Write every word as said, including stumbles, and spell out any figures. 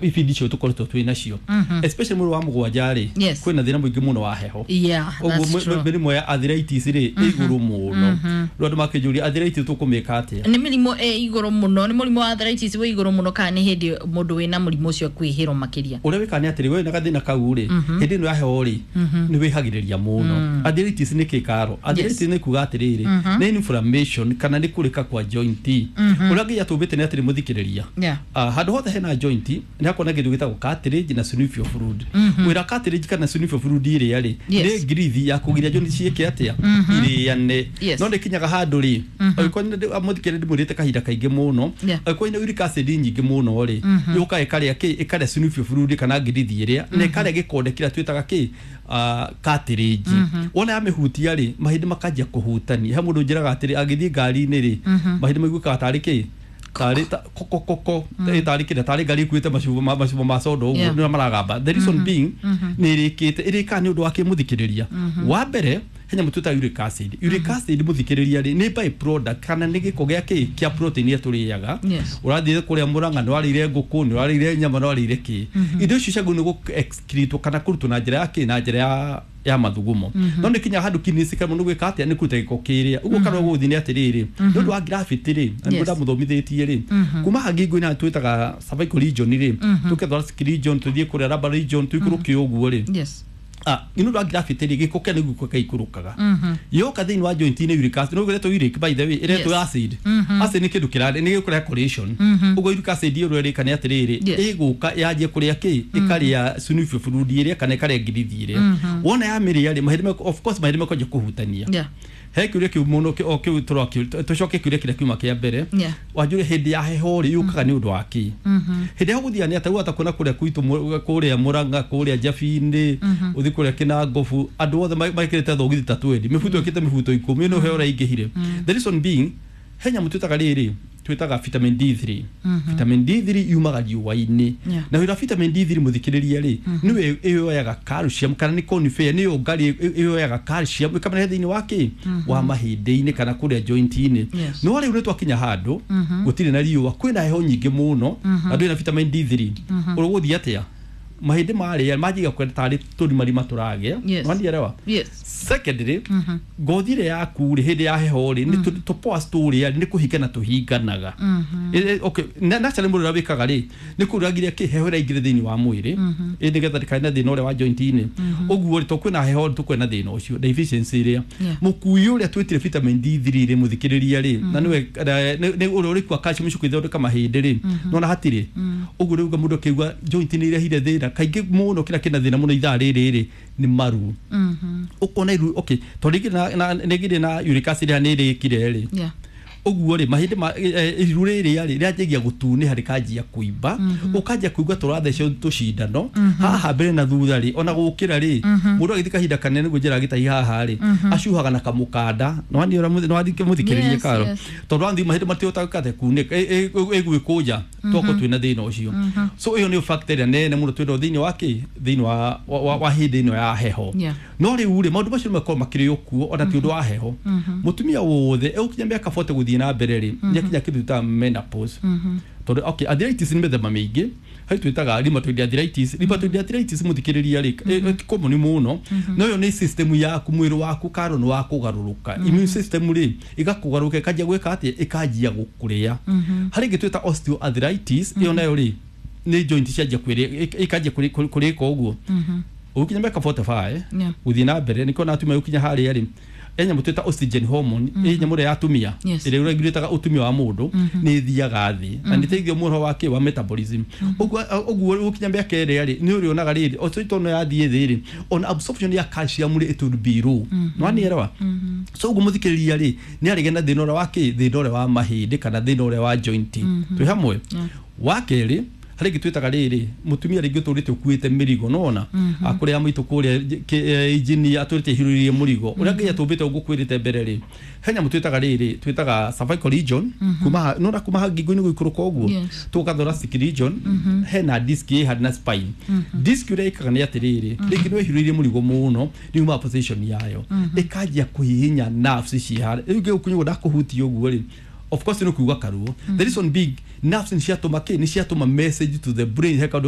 Ibindi icio tũkoretwo twĩ nacio, especially mweri wa mũgwanja rĩ, Yes. kwĩna thĩna mũingĩ mũno wa heho. Yeah, ũguo that's true. mĩrimũ ya arthritis rĩ ĩ igũrũ mũno. Rĩu andũ makĩnjũria, arthritis tũkũmĩka atĩa? Nĩ mĩrimũ ĩ igũrũ mũno, nĩ mũrimũ wa arthritis wĩ igũrũ mũno, kana nĩ hĩndĩ mũndũ wĩna mũrimũ ũcio akwĩhĩrwo makĩria? Ũrĩa wĩkaga nĩ atĩrĩ, we na gathĩna kau rĩ, hĩndĩ ĩno ya heho rĩ, nĩ wĩhagĩrĩria mũno. Arthritis nĩ kĩ karo? Arthritis nĩ kuga atĩrĩrĩ, nĩ inflammation kana nĩ kũrĩka kwa joint. Ũrĩa nginya tũmbĩte nĩ atĩrĩ, mũthikĩrĩria, Yeah. Ah, handũ hothe hena joint nĩ hakoragwo na kĩndũ gĩtagwo cartilage na synovial fluid. Wĩra cartilage kana synovial fluid ĩrĩa rĩ, Yes. nĩ ngirithi ya kũgiria joint ciĩke atĩa? Irĩane. Yes. No nĩ kinyaga handũ rĩ, angĩkorwo nĩ mũthikĩrĩria, ndĩmwĩrĩte kahinda kaingĩ mũno, Yeah. angĩkorwo nĩ uric acid nyingĩ mũno rĩ, yũkaga ĩkarĩa kĩ? Ĩkarĩa synovial fluid kana ngirithi ĩrĩa, na ĩkarĩa gĩkonde kĩrĩa twĩtaga kĩ? Ah, cartilage. Wona yamĩhutia rĩ, mahĩndĩ makanjia kũhutania. He mũndũ njĩraga atĩrĩ, agĩthiĩ ngari-inĩ rĩ, mahĩndĩ maiguĩkaga tarĩ kĩ? Tarĩ ta- koko koko, ĩ tarĩ kĩrĩa, tarĩ ngari ĩkuĩte macuba ma macuba ma soda ũguo. Yeah. Nĩ maragamba. The reason being, nĩ ĩrĩkĩte ĩrĩkaga nĩ ũndũ wa kĩ, mũthikĩrĩria? Wa mbere, he nyamũ twĩtaga uric acid. Uric acid, mũthikĩrĩria rĩ, nĩ by product kana nĩ gĩko gĩa kĩ? Kĩa protein iria tũrĩaga. Yes. Ũrathiĩ kũrĩa Mũrang'a, nĩ warĩire ngũkũ, nĩ warĩire nyama, nĩ warĩire kĩ, indo icio ciagĩrĩirwo nĩ gũ excrete kana kũrutwo na njĩra ya kĩ? Na njĩra ya ya mathugumo. No nĩ kinya handũ kidneys ikaremwo nĩ gwĩka atĩa? Nĩ kũruta gĩko kĩrĩa. Ũguo kana gũgũthiĩ nĩ atĩrĩrĩ, nĩ ũndũ wa gravity rĩ, na nĩguo Yes. ndamũthomithĩtie rĩ, kuma haha ngingo-inĩ twĩtaga cervical region rĩ, tũke thoracic region, tũthiĩ kũrĩa lumbar region, tũikũrũke ũguo rĩ. Yes. Ah, nĩ ũndũ wa gravity rĩ, gĩko kĩa nĩguo gĩikũrũkaga yoka thĩinĩ wa joint inĩ. Uric acid no ĩretwo uric, by the way, ĩretwo Yes. acid. Acid nĩ kĩndũ kĩrarĩ nĩ gĩkũrehe corrosion. Ũguo uric acid ĩyo ĩrĩka nĩ atĩrĩrĩ, Yes. ĩgũka yanjie kũrĩa kĩ? Ĩkarĩa synovial fluid ĩrĩa kana ĩkarĩa ngirithi ĩrĩa. Wona yamĩrĩa rĩ, mahĩndĩ meko- of course mahĩndĩ mekanjia kũhutania. Yeah. He kĩũria kĩu mũno kĩ- o kĩu tũrakĩũria. Tũcoke kĩũria kĩrĩa kiuma kĩa mbere. Yeah. Wanjũria hĩndĩ ya heho rĩ, yũkaga nĩ ũndũ wa kĩ? Hĩndĩ ya gũthiĩ nĩ atĩ wata kuona kũrĩa gwitũ mũ- kũrĩa Mũrang'a, kũrĩa Njabi-inĩ, ũthiĩ kũrĩa Kĩnangobu, andũ othe ma- mekĩrĩte thogithi ta twendi, mĩbuto ĩkĩte mĩbuto ikũmi, ĩno heho ĩraingĩhire. The reason being, he nyamũ twĩtaga rĩrĩ, twĩtaga vitamin D three. Vitamin D three yumaga riũa-inĩ. Yeah. Na wĩra vitamin D three, mũthikĩrĩria rĩ, nĩwe ĩyoyaga calcium kana nĩ conifer, nĩyo ngari ĩyoyaga calcium ĩkamĩrehe thĩinĩ wa kĩ? Wa mahĩndĩ-inĩ kana kũrĩa joint-inĩ. Yes. No rĩu nĩ twakinya handũ gũtirĩ na riũa, kwĩna heho nyingĩ mũno, na ndũrĩ na vitamin D three. Ũgũthiĩ atĩa? Mahĩndĩ marĩa manjiga kwenda tarĩ tũrimarima tũragĩa. Yes. Wanielewa? Yes. Secondly, ngothi ĩrĩa yaku rĩ, hĩndĩ ya heho rĩ, nĩ tũ- tũ pores tũrĩa nĩ kũhingana tũhinganaga. Eh, eh, okay, na naturally mũndũ ũrĩa wĩkaga rĩ, nĩ kũragiria kĩ? Heho ĩraingĩre thĩinĩ wa mwĩrĩ, ĩ nĩgetha ndĩkae na thĩna ũrĩa wa joint-inĩ. Ũguo rĩ, to kwĩna heho rĩ, tũkwĩna thĩna ũcio deficiency ĩrĩa Yeah. mũkui ũrĩa twĩtire vitamin D three rĩ, mũthikĩrĩria rĩ, na nĩwe nĩ nĩ ũrĩa ũrĩkua calcium icio ithondeka mahĩndĩ rĩ, nona hatirĩ. Ũguo rĩu mũndũ akĩigua joint nĩ irehire thĩna kaingĩ mũno, kĩrĩa kĩna thĩna mũno ithaa rĩrĩ rĩ, nĩ maru. Ũkona iru, okay, tondũ rĩngĩ na- na- nĩngĩrĩ na uric acid nĩ ĩrĩkire rĩ. Yeah. Ũguo rĩ, mahĩndĩ ma eh, iru rĩrĩa rĩ, rĩanjagia gũtunĩha, rĩkanjia kũimba, ũkanjia kũigua tũrathecwo tũcindano haha mbere na thutha rĩ. Ona gũkĩra rĩ, mũndũ agĩthiĩ kahinda kanene nĩguo njĩra gĩtahi haha rĩ, acuhaga na kamũkanda. Nĩwathiĩ mũthikĩrĩrie Yes, karo yes. tondũ wathiĩ mahĩndĩ matihotaga kate kunĩka, ĩgwĩkũnja twako twĩna thĩna ũcio. So ĩyo nĩyo factor ĩrĩa nene mũno twĩnayo thĩinĩ wa kĩ? Thĩinĩ wa wa- wa hĩndĩ ĩno ya heho. Yeah. No rĩu rĩ, maũndũ macio nĩmakorwo makĩrĩ okuo ona ti ũndũ wa heho. Mũtumia wothe egũkinya mĩaka forty gũthiĩ na mbere rĩ, nĩakinya kĩndũ twĩtaga menopause. Tondũ okay, arthritis nĩ mĩthemba mĩingĩ. Harĩ twĩtaga rheumatoid arthritis. Rheumatoid arthritis, mũthikĩrĩria rĩ, ĩ- ĩ- common mũno, no ĩyo nĩ system yaku, mwĩrĩ waku karo nĩ wa kũgarũrũka, immune system rĩ, ĩgakũgarũrũka, ĩkanjia gwĩka atĩa? Ĩkanjia gũkũrĩa. Harĩ ĩngĩ twĩta osteoarthritis. Ĩyo nayo rĩ, nĩ joint cianjia kwĩrĩ, ĩkanjia kũrĩka. Ũguo ũgĩkinya mĩaka mĩrongo ĩna na ithano Yeah. gũthiĩ na mbere, nĩkĩo na atumia gũkinya harĩa rĩ, he nyamũ twĩta estrogen hormone, ĩ nyamũ ĩrĩa ya atumia Yes. ĩrĩa ĩregulĩtaga ũtumia wa mũndũ, nĩ ĩthiaga thĩ na nĩ ĩteithagia mũno wa kĩ? Wa metabolism. Ũguo ũguo gũkinya mĩaka ĩrĩa rĩ, nĩ ũrĩonaga rĩrĩ osteoarthritis yathiĩ thĩ rĩ, ona absorption ya calcium rĩ, it will be low. Nĩwanielewa? So ũguo mũthikĩrĩria rĩ, nĩ arĩge na thĩna ũrĩa wa kĩ? Thĩna ũrĩa wa mahĩndĩ kana thĩna ũrĩa wa joint. Twĩ hamwe? Wa kerĩ, harĩ ĩngĩ twĩtaga rĩrĩ, mũtumia rĩngĩ ũtũrĩte ũkuĩte mĩrigo, nona kũrĩa maitũ kũrĩa engineer atũrĩte ihurĩrie mũrigo ũrĩa ngai atũmbĩte. Ũguo kwĩrĩte mbere rĩ, he nyamũ twĩtaga rĩrĩ, twĩtaga cervical region, kuma ha- nona kuma ha ngingo-inĩ gũikũrũka ũguo, Yes. tũka thoracic region, hena disc ĩ harĩ na spine. Disc ũrĩa ĩkaga nĩ atĩrĩrĩ, rĩngĩ nĩ wĩhurĩirie mũrigo mũno, nĩ uma position yayo, ĩkanjia kũhihinya nerves ci harĩa. Rĩu ngĩgũkunywo ndakũhutia ũguo rĩ, Of course nĩ kuigua karuo. The reason being, nerves nĩ ciatũma kĩ, nĩ ciatũma message to the brain, he kaũndũ.